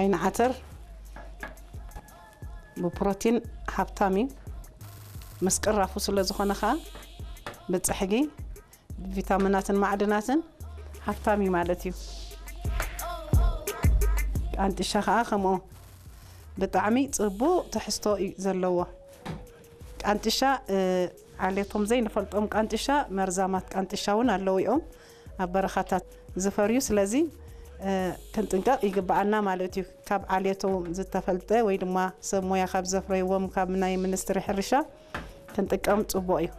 ዓይኒ ዓተር ብፕሮቲን ሃብታም እዩ። ምስ ቅራፉ ስለ ዝኾነ ኸኣ ብጽሕጊ ብቪታሚናትን ማዕድናትን ሃብታም እዩ ማለት እዩ። ቃንጥሻ ኸኣ ከምኡ ብጣዕሚ ጽቡቕ ትሕዝቶ እዩ ዘለዎ። ቃንጥሻ፣ እ፣ ዓሌቶም ዘይንፈልጦም ቃንጥሻ፣ መርዛማት ቃንጥሻ እውን ኣለዉ እዮም ኣብ በረኻታት ዝፈርዩ። ስለዚ፣ እ፣ ክንጥንቀቕ ይግብኣና ማለት እዩ። ካብ ዓሌቶም ዝተፈልጠ ወይ ድማ ሰብ ሞያ ካብ ዘፍረይዎም ካብ ናይ ሚኒስትሪ ሕርሻ ክንጥቀም ጽቡቕ እዩ።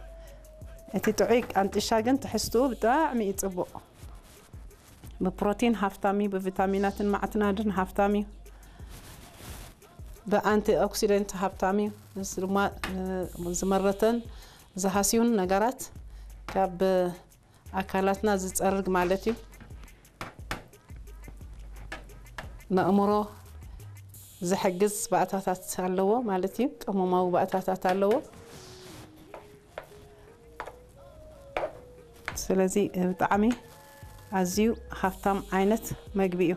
እቲ ጥዑይ ቃንጥሻ ግን ትሕዝትኡ ብጣዕሚ እዩ ጽቡቕ። ብፕሮቲን ሃብታም እዩ፣ ብቪታሚናትን ማዕድናትን ሃብታም እዩ፣ ብኣንቲ ኦክሲደንት ሃብታም እዩ። እዚ ድማ፣ እ፣ ዝመረተን ዝሃስዩን ነገራት ካብ ኣካላትና ዝጸርግ ማለት እዩ። ንኣእምሮ ዝሕግዝ ባእታታት ኣለዎ ማለት እዩ። ቅመማዊ ባእታታት ኣለዎ። ስለዚ ብጣዕሚ ኣዝዩ ሃብታም ዓይነት መግቢ እዩ።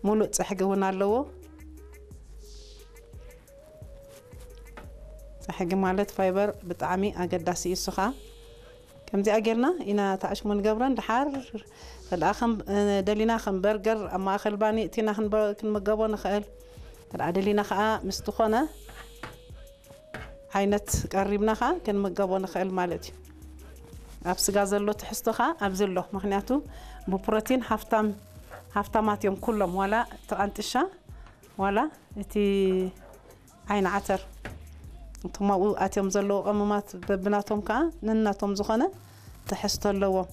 ሙሉእ ጽሕጊ እውን ኣለዎ። ጽሕጊ ማለት ፋይበር ብጣዕሚ ኣገዳሲ እዩ። እሱ ኸኣ ከምዚኣ ጌርና ኢና ተኣሽሙ ንገብረን። ድሓር ተደኣ ከም፣ እ፣ ደሊና ከም በርገር ኣብ ማእከል ባኒ እቲና ክንበ-፣ ክንምገቦ ንኽእል። ተደኣ ደሊና ኸኣ ምስ ዝኾነ ዓይነት ቀሪብና ኸኣ ክንምገቦ ንኽእል ማለት እዩ። ኣብ ስጋ ዘሎ ትሕዝቶ ኸኣ ኣብዚ ኣሎ። ምኽንያቱ ብፕሮቲን ሃፍታም-፣ ሃፍታማት እዮም ኩሎም፣ ዋላ እቲ ቃንጥሻ፣ ዋላ እቲ ዓይኒ ዓተር። እቶም ኣብኡ ኣትዮም ዘለዉ ቀመማት በብናቶም ከኣ ነናቶም ዝኾነ ትሕዝቶ ኣለዎም።